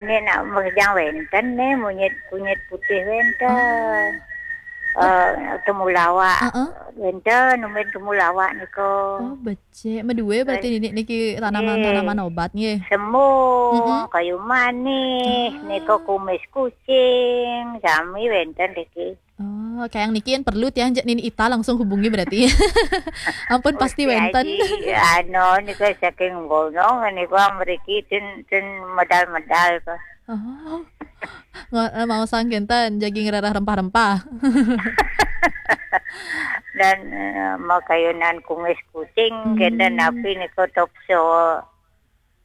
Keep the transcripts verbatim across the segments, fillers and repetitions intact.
Nek nak mejang wenten nih, monyet kunyit putih wenten. Oh. Eh, temulawak. Heeh. Wenten, numbin temulawak niko. Oh, becik. Medue berarti nini niki tanaman-tanaman obat nggih. Semung, mm-mm, kayu manis, ah, niko kumis kucing, sami wenten niki. Oh, kayak niki yang perlu tiang jak nini Ita langsung hubungi berarti. Ampun, pasti wenten. Aji, anu, niko saking gunung, niko mriki ten, ten medal-medal kok. Oh. Ngo-, eh, mau sang kenten, jagi ngerarah rempah-rempah. Dan, eh, mau kayunan kumis kucing, kenten, hmm, tapi niko tokso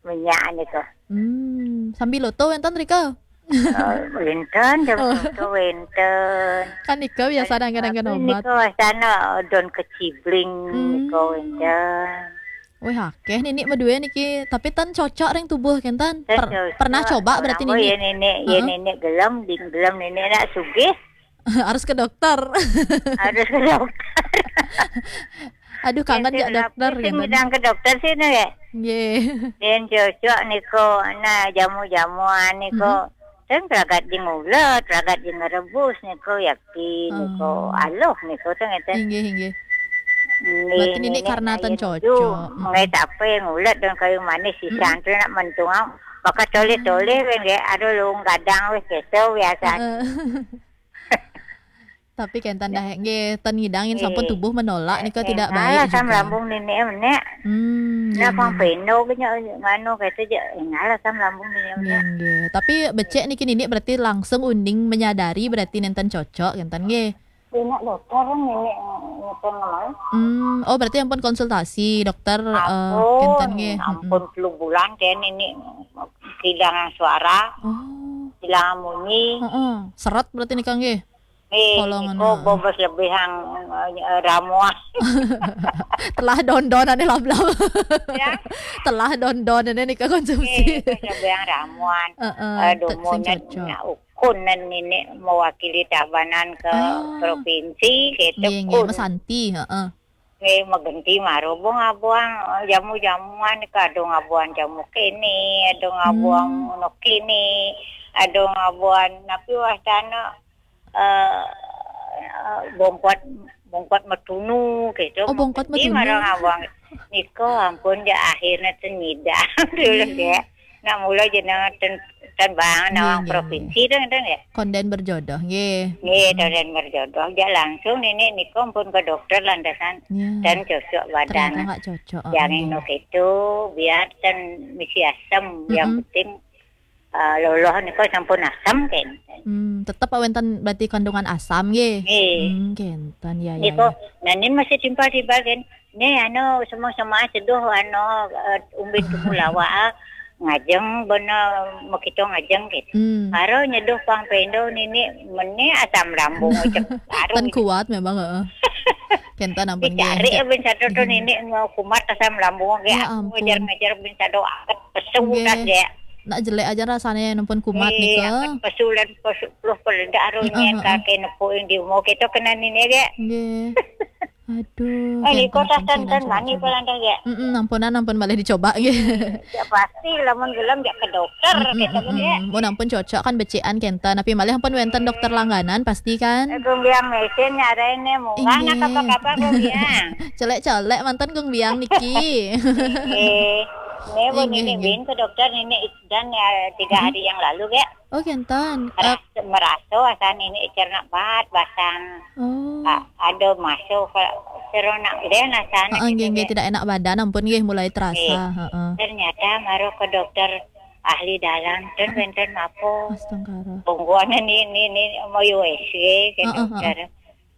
minyak niko. Hmm, sambil loto wenten rika? Eh, wenten, jam loto wenten. Kan niko biasa dan kadang-kadang obat. Niko wastana daun kecibling, hmm, niko wenten. Wih, akeh nini medue niki, tapi ten cocok ring tubuh kenten. Ten cocok. Pernah coba berarti nini? Ya nini, ya nini gelem, di gelem nini nak sugih. Harus ke dokter. Harus ke dokter. Aduh, kangen jak dokter gitu. Bidang ke dokter sih, no, ya? Nggih. Yen cocok niko, nah, jamu-jamuan niko. Mhm. Ten ragat di ngulet, ragat di ngerebus niko, yakti niko, aloh niko, ten ngeten. Inggih, inggih. Berarti nini karena ten cocok. Ngai tape ngulet dan kayu manis, sisan tu nak mentungang. Bakal toleh-toleh, weh, nggih, aduh, lung gadang, weh, keso biasa. Heeh. Tapi kenten dah, nggih, ten ngidang yen sampun tubuh menolak nika tidak baik juga. Ngalah asam lambung nini, nek. Hmm, nggih, nggih. Pang peno ke nyo, nganu kata je, ngalah asam lambung nini, nek. Nggih, nggih. Tapi becik niki nini berarti langsung uning menyadari berarti nenten cocok, kenten nggih. Enak dokter nini, nini ngomong. Hmm, oh, berarti ampun konsultasi dokter, eh, kenten nggih. Ampun, mm-mm, telu bulan ke nini kehilangan suara, oh, kehilangan munyi. Heeh, seret berarti nika nggih. Eh, kolongan, niko bobos lebih hang, eh, ramuan. Telah dondon ane lablab. Ya. Telah dondon ane nika konsumsi. Eh, bobos lebih hang ramuan. Heeh, eh, tak sing dumun cocok. Nak ukun nan nini mewakili Tabanan ke provinsi, gitu. Nggih, nggih, kun. Mesanti, heeh. Nggih, megenti maro bong abuang, eh, jamu-jamuan, kadung abuang jamu kini, adung abuang, hmm, ngono kini, adung abuang napi wastana, eh, eh, bongkot, bongkot metunu gitu. Oh, bongkot metunu. Mesti marang abuang. Niko ampun, ya, akhirnya ten nyidang dulu, hmm, ya. Nak mula jenengan ten, ten bang, nggih, nawang nggih, provinsi nggih. Ten, ten, ya. Konden berjodoh, nggih. Nggih, hmm, konden berjodoh. Ya langsung nini niko ampun ke dokter lantasan, ya, ten cocok badan. Ternyata nggak cocok, oh, nggih. Yang ino gitu, biar ten misi asam, yang, mm-mm, penting eh, loloh niko sampun asam kenten. Hmm, tetep awenten berarti kandungan asam nggih. Nggih. Hmm, kenten, ya, ya, niko, ya. Nanin masih timpal-timpal ken. Nih, anu, semua-semua seduh, anu, eh, umbin temulawak, ah, ngajeng bena mekito ngajeng gitu. Hmm. Karo nyeduh pang pendo nini meni asam lambung cek baru. Ten kuat memang, heeh. Kenten ampun nggih. Dicari ya bin satu tu nini mau kumat asam lambung nggih. Ya ampun. Ngejar-ngejar bin satu aket pesu nggih. Udah nggih. Nak jelek aja rasanya yang nempun kumat nih, nggih, ke. Pesu dan pesu peluh peledak arunya, heeh, heeh, kakek nepuk yang di umur kita kena nini nggih. Nggih. Aduh, eh, di kota Tantan mani pelanda nggih. Mm-mm, ampunan, ampun malih dicoba nggih. Ya pasti lamun gelem ya ke dokter, mm-mm, gitu kan, mm-mm, ya. Mun ampun cocok kan becikan kenten, tapi malih ampun wenten dokter langganan pasti kan. Eh, gumbiang mesin nyarain nih, munggah nak nggih. Apa-apa gumbiang. Celek-celek mantan gumbiang niki. Eh, ini bu nggih, nini nggih. Bin ke dokter nini dan ya tiga hari yang lalu, ya. Oh, kenten. Meras-, eh, meraso asan ini cerna bat basang. Oh. A-, ada masuk ke seronak dia nah sana heeh, gitu nggih, nggih, ya. Tidak enak badan ampun nggih mulai terasa, nggih. Heeh. Ternyata maro ke dokter ahli dalam, ten wenten mapo. Astungkara. Pungguan ini, ini, ini mau U S G ke heeh, dokter. Heeh.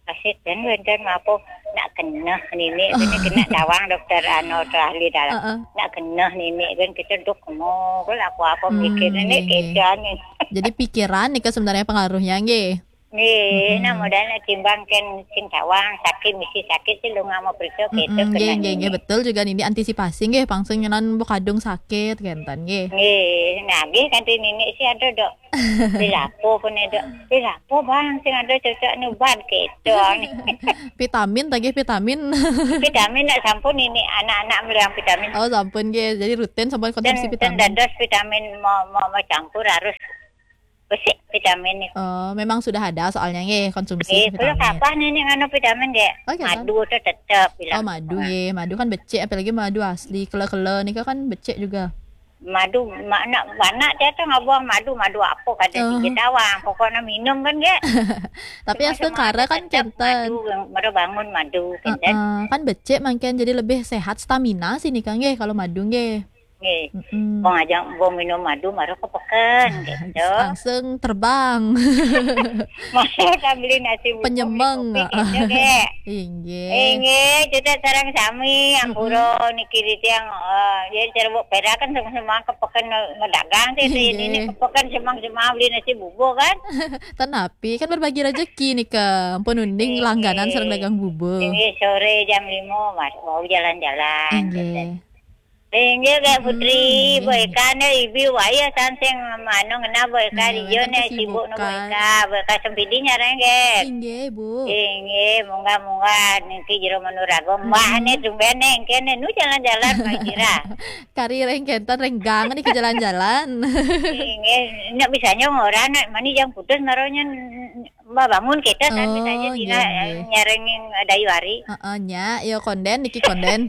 Kasih ten wenten mapo nak kena nini, ini kena tawang dokter anu tu ahli dalam. Heeh. Nak kena nini kan kita dok mau kalau aku apa, hmm, mikir nini nggih, nggih. Kita nih. Jadi pikiran nih sebenarnya pengaruhnya nggih. Nggih, nah, modalna timbang kén sing tawang, sakit, misi sakit sih lu nggak mau periksa, gitu. Mm-mm, nggih, nggih, nggih, betul juga niki antisipasi nggih, pang sing nyenan mbok kadung sakit, kénten nggih. Nggih, nagih kanthi nini sih ada, Dok. Dilapo pun ada. Dilapo, Bang, sing ada cocok nubat, gitu. Vitamin, tagih vitamin. Vitamin nak sampun ini, anak-anak meliang vitamin. Oh, sampun nggih. Jadi rutin sampun konsumsi vitamin. Dados vitamin mau, mau, mau campur harus besi vitamin itu. Oh, memang sudah ada soalnya nggih konsumsi vitamin. Eh, kalau kapan ini nganu vitamin nggih? Oh, kapan? Madu tuh tetep bilang. Oh, madu nggih. Madu kan becik, apalagi madu asli. Kele-kele nika kan becik juga. Madu, ma-, nak, anak saya tuh nggak buang madu, madu apa kada. Oh. Di Jatawang, pokoknya minum kan nggih. Tapi semua, semua astengkara kan tetep kénten. Madu, baru bangun madu, kénten. Heeh, kan becik mangkén jadi lebih sehat stamina sih nika nggih kalau madu nggih. Nggih. Mm-mm. Wong aja, wong minum madu, mara kepeken, gitu. Langsung terbang. Masa tak beli nasi bubuk, penyemeng, beli kopi, gitu, nggih. Inggih. Inggih, cedhak sareng sami, ampura niki titiang, eh, ya, cerbuk perakan sama-sama kepeken medagang sih, inggih. Ini kepeken semang-semang beli nasi bubuk, kan? Ten api, kan berbagi rezeki nika. Ampun uning langganan sareng dagang bubuk. Inggih, sore jam lima, Mas, mau jalan-jalan, inggih. Gitu. Inggih, Kak Putri, mm-mm, Bu Eka, né, ibi waya sansing, anu, ngena, Bu Eka, iya, né, sibuk, né, Bu Eka, Bu Eka Sempidi nyarang, nggih. Inggih, Bu. Inggih, munggah-munggah, niki jero manuraga, mbah, né, tumben, né, engké, né, nu jalan-jalan, Pak Kira. Kari reng kénten, renggang, niki jalan-jalan. Inggih, nek misalnya orang, nek mani jam putus, naronya, mbah bangun kita, kan, misalnya, oh, dina, nggih, nggih, nyarengin dayu hari. Heeh, nya, ya konden, niki konden.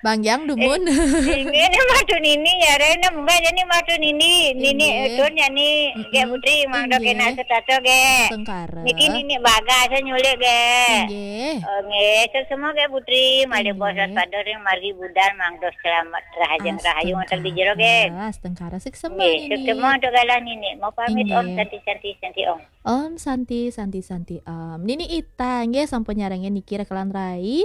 Bang Yang dumun. Eh, ini, ini madu nini ya, Rena, mbak, ini madu nini, nini, inggih. Udun ya ni, mm-mm, nggih, Putri, mangdo, inggih, kena setato, nggih. Astengkara. Niki nini bagas nyulik, nggih. Inggih. Oh, nggih, semua, nggih, Putri, malih, inggih, bos pada ring margi budal, mangdo selamat, rahajeng, astengkara, rahayu, ngoten di jero, nggih. Astengkara, suksema, nggih, nini. Suksema untuk galah nini. Mau pamit, inggih. Om Santi, Santi, Santi, Om. Om Santi, Santi, Santi, Om. Nini Ita, nggih, sampun nyarengin niki Rekelan Rai.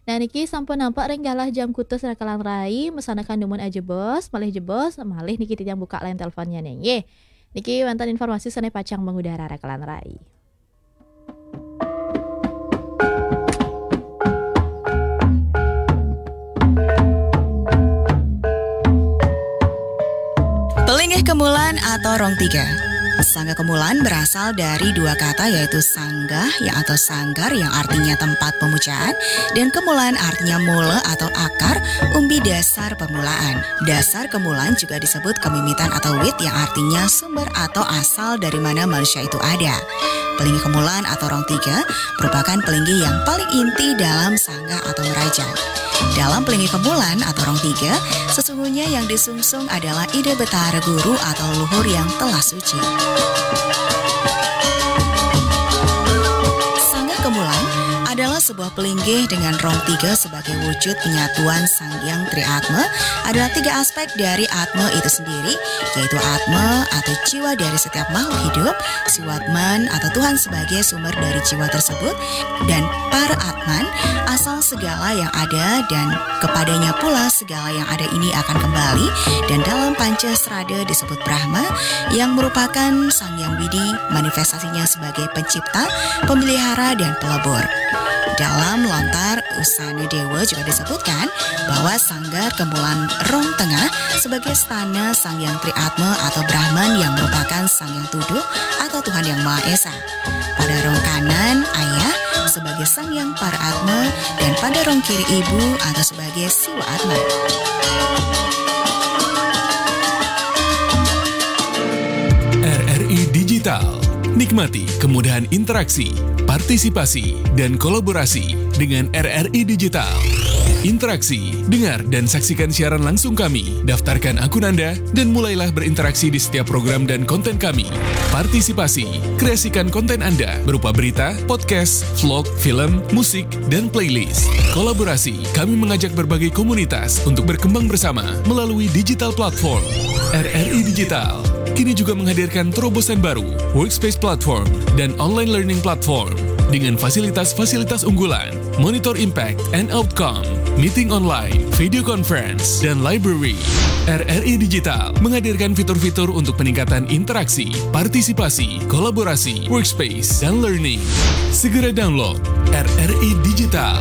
Nah, niki sampun nampak ring galah jam kutus Rekelan Rai, mesanakan dumun ajebos, malih jebos, malih niki titiang buka line teleponnya nih, nggih. Niki wénten informasi sané pacang mengudara Rekelan Rai. Pelinggih kemulan atau rong tiga. Sangga kemulan berasal dari dua kata, yaitu sanggah yang atau sanggar yang artinya tempat pemujaan, dan kemulan artinya mula atau akar, umbi dasar permulaan. Dasar kemulan juga disebut kemimitan atau wit yang artinya sumber atau asal dari mana manusia itu ada. Pelinggih kemulan atau rong tiga merupakan pelinggih yang paling inti dalam sanggah atau meraja. Dalam pelinggih kemulan atau rong tiga, sesungguhnya yang disungsung adalah ide Betara Guru atau leluhur yang telah suci. Sanggah kemulan adalah sebuah pelinggih dengan rong tiga sebagai wujud penyatuan Sang Hyang Tri Atma. Adalah tiga aspek dari Atma itu sendiri, yaitu Atma atau jiwa dari setiap makhluk hidup, Siwatman atau Tuhan sebagai sumber dari jiwa tersebut, dan Para Atman, asal segala yang ada, dan kepadanya pula segala yang ada ini akan kembali, dan dalam Panca Srada disebut Brahma, yang merupakan Sang Hyang Widi, manifestasinya sebagai pencipta, pemelihara, dan pelebur. Dalam lontar Usana Dewa juga disebutkan bahwa sanggar kemulan rong tengah sebagai stana Sang Hyang Tri Atma atau Brahman yang merupakan Sang Hyang Tuduh atau Tuhan Yang Maha Esa. Pada rong kanan ayah sebagai Sang Hyang Para Atma dan pada rong kiri ibu atau sebagai Siwa Atma. R R I Digital. Nikmati kemudahan interaksi, partisipasi, dan kolaborasi dengan R R I Digital. Interaksi, dengar dan saksikan siaran langsung kami. Daftarkan akun Anda dan mulailah berinteraksi di setiap program dan konten kami. Partisipasi, kreasikan konten Anda berupa berita, podcast, vlog, film, musik, dan playlist. Kolaborasi, kami mengajak berbagai komunitas untuk berkembang bersama melalui digital platform. R R I Digital kini juga menghadirkan terobosan baru, Workspace Platform dan Online Learning Platform dengan fasilitas-fasilitas unggulan, Monitor Impact and Outcome, Meeting Online, Video Conference, dan Library. R R I Digital menghadirkan fitur-fitur untuk peningkatan interaksi, partisipasi, kolaborasi, workspace, dan learning. Segera download R R I Digital.